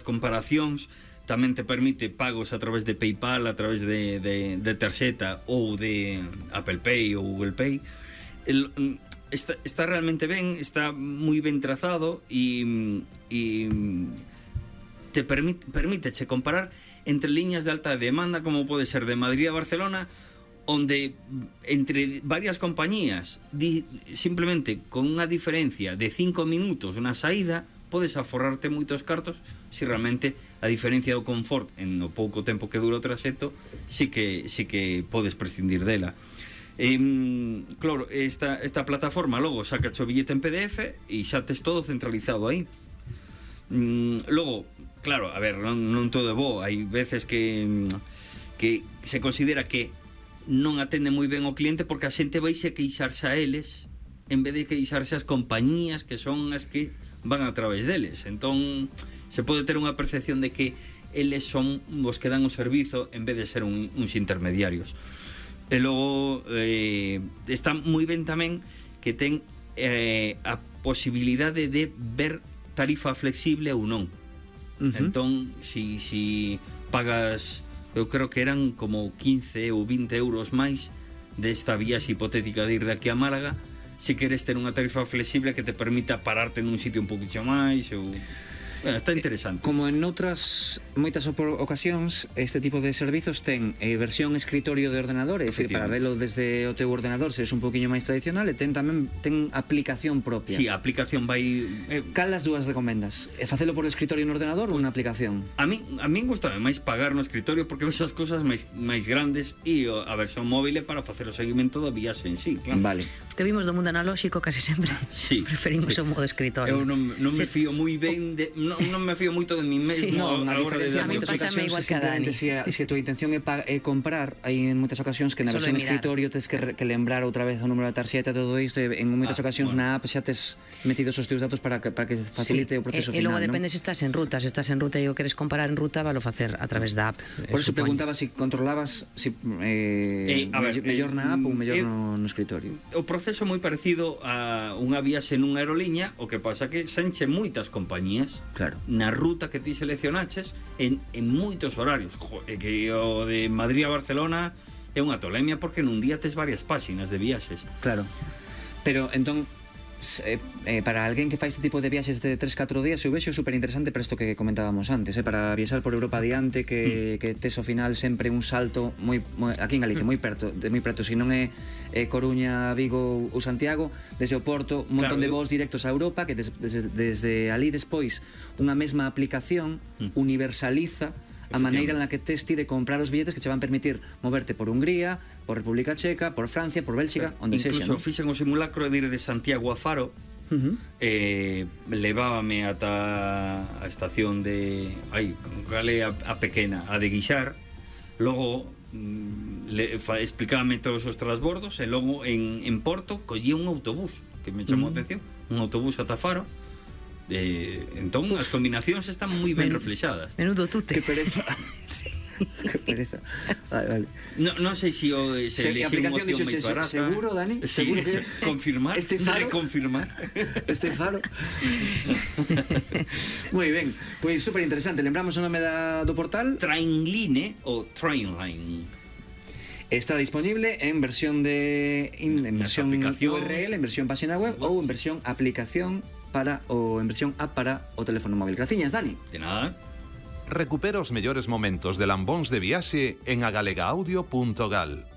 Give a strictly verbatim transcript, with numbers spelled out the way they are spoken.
comparacións, tamén te permite pagos a través de PayPal, a través de, de, de tarxeta ou de Apple Pay ou Google Pay. El, está, está realmente ben, está moi ben trazado e, e te permite, permíteche comparar entre liñas de alta demanda como pode ser de Madrid a Barcelona, onde entre varias compañías di, simplemente con unha diferencia de cinco minutos na saída podes aforrarte moitos cartos se realmente a diferencia do confort en o pouco tempo que dura o traxecto sí que, sí que podes prescindir dela. Eh, claro, esta, esta plataforma logo saca o billete en P D F e xa tes todo centralizado aí. Mm, logo, claro, a ver, non, non todo é bo, hai veces que, que se considera que non atende moi ben o cliente porque a xente vaise queixarse a eles en vez de queixarse as compañías que son as que van a través deles. Entón se pode ter unha percepción de que eles son os que dan o servizo en vez de ser un, uns intermediarios. E logo eh, está moi ben tamén que ten eh, a posibilidade de ver tarifa flexible ou non. Uh-huh. Entón si, si pagas, eu creo que eran como quince ou vinte euros máis desta viaxe hipotética de ir de aquí a Málaga, se queres ter unha tarifa flexible que te permita pararte nun sitio un poquinho máis ou... Bueno, está interesante. Como en outras moitas ocasións, este tipo de servizos ten eh, versión escritorio de ordenador, é dicir, para velo desde o teu ordenador, se es un poquinho máis tradicional, e ten tamén ten aplicación propia. Si, sí, a aplicación vai... Eh, Cal das dúas recomendas? E facelo por escritorio no ordenador ou unha aplicación? A mí a min gustame máis pagar no escritorio porque esas cousas máis máis grandes e a versión móvil é para facer o seguimento da viaxe en sí, claro. Vale. Os que vimos do mundo analóxico casi sempre sí, preferimos sí. o modo escritorio. Eu non, non me fío moi ben de... Non, non me fío moito de mí mesmo. Sí, no, a, a diferencia de... de moitas ocasións é simplemente se a, se a tua intención é, pa, é comprar, hai en moitas ocasións que na versión escritorio tes que, que lembrar outra vez o número da tarxeta, todo isto, e en moitas ah, ocasións bueno. na app xa tes metidos os teus datos para que, para que facilite sí. o proceso e, final. E logo ¿no? depende se estás en ruta, se estás en ruta e o queres comparar en ruta, valo facer a través da app. Por eso preguntaba se si controlabas si, eh, eh, a ver, mellor na app ou mellor eh, no, no escritorio. O proceso é moi parecido a unha viaxe nunha aeroliña, o que pasa que se enche moitas compañías. Claro. Na ruta que ti seleccionaches en, en moitos horarios. Joder, que o de Madrid a Barcelona é unha tolemia porque nun día tes varias páxinas de viaxes. Claro. Pero entón Eh, eh, para alguén que fai este tipo de viaxes de tres catro días, eu vexo super interesante para isto que comentábamos antes, eh, para viaxar por Europa adiante, que, mm. que tes ao final sempre un salto moi, moi aquí en Galicia, moi perto, de moi perto, se non é eh, Coruña, Vigo ou Santiago, desde o Porto, un montón claro, de voos directos a Europa, que des, desde, desde ali despois unha mesma aplicación mm. universaliza a maneira na que tes ti de comprar os billetes que che van permitir moverte por Hungría, por República Checa, por Francia, por Bélxica, onde sexa. Incluso fixen o simulacro de ir de Santiago a Faro, uh-huh. eh, levábame ata a estación de... Ai, cal é a, a pequena, a de Guixar, logo le, fa, explicábame todos os transbordos, e logo en, en Porto collí un autobús, que me chamou uh-huh. a atención, un autobús ata Faro. Eh, entón, uf, as combinacións están moi ben reflexadas. Menudo tute. Que pereza. Sí. Que pereza. Vale, vale. No, non sei se o se, se le a aplicación máis barata. Seguro, Dani? Sí, seguro que confirmar, este faro, reconfirmar. Este faro. Moi ben. Pois super interesante. Lembramos o nome da, do portal? Trainline ou Trainline. Está disponible en versión de in, en versión U R L, en versión página web ou en versión aplicación para o en versión app para o teléfono móvil. Graciñas, Dani. De nada. Recupera os mellores momentos de lambóns de viaxe en agalega audio punto gal.